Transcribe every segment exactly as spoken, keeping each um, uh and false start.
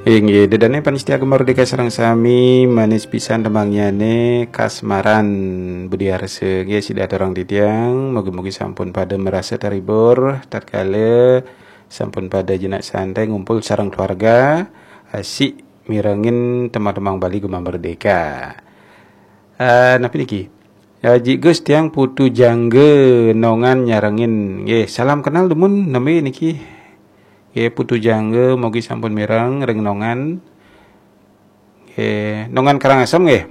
Inggih, ida dané pamiarsa Gema Merdeka sareng sami, manis pisan tembangnyané Kasmaran Budiarsa. Nggih, sida aturang titiang, mugi-mugi sampun pada merasa terhibur tatkala sampun pada jenak santai ngumpul sareng keluarga, asik mirengin tembang-tembang Bali Gema Merdeka. Eh, napi niki? Ya, Ji Gus tiang Putu Jangga Nongan nyarengin. Nggih, salam kenal dumun, nami niki. Nggih, Putu Jangga, mugi sampun mireng ring Nongan. Nggih, Nongan Karangasem nggih.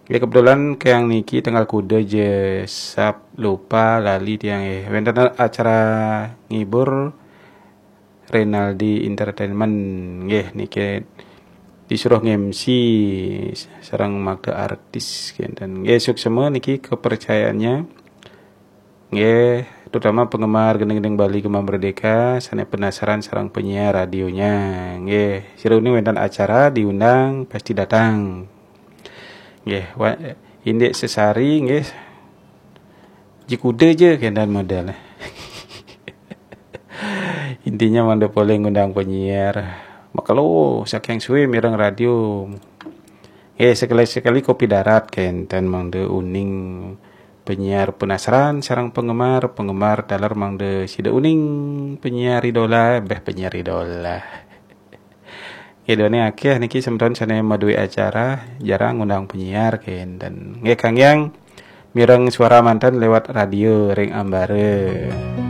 Nggih, kebetulan kayang niki tanggal kuda ja, Sab, lupa, lali tiang nggih. Wénten acara ngibur Renaldi Entertainment nggih niki disuruh nge-M C sareng makta artis kenten. Nggih, suksma niki kepercayaannya. Nggih, terutama penggemar gending-gending Bali Gema Merdeka, sané penasaran sareng penyiar radionya. Nggih, sira uning wénten acara diundang pasti datang. Nggih, wa-, indik sesari nggih. Ji kuda ja kenten model. Intinya mangda polih ngundang penyiar. Makelo saking suwe mireng radio. Eh, sekali-sekali kopi darat kenten mangda uning penyiar penasaran sareng penggemar, penggemar taler mangda sida uning penyiar idola, beh penyiar idola. Nggih, dene akeh niki semeton sane maduwe acara, jarang ngundang penyiar kenten. Nggih, Kang Yang, mireng suara manten lewat radio ring ambara.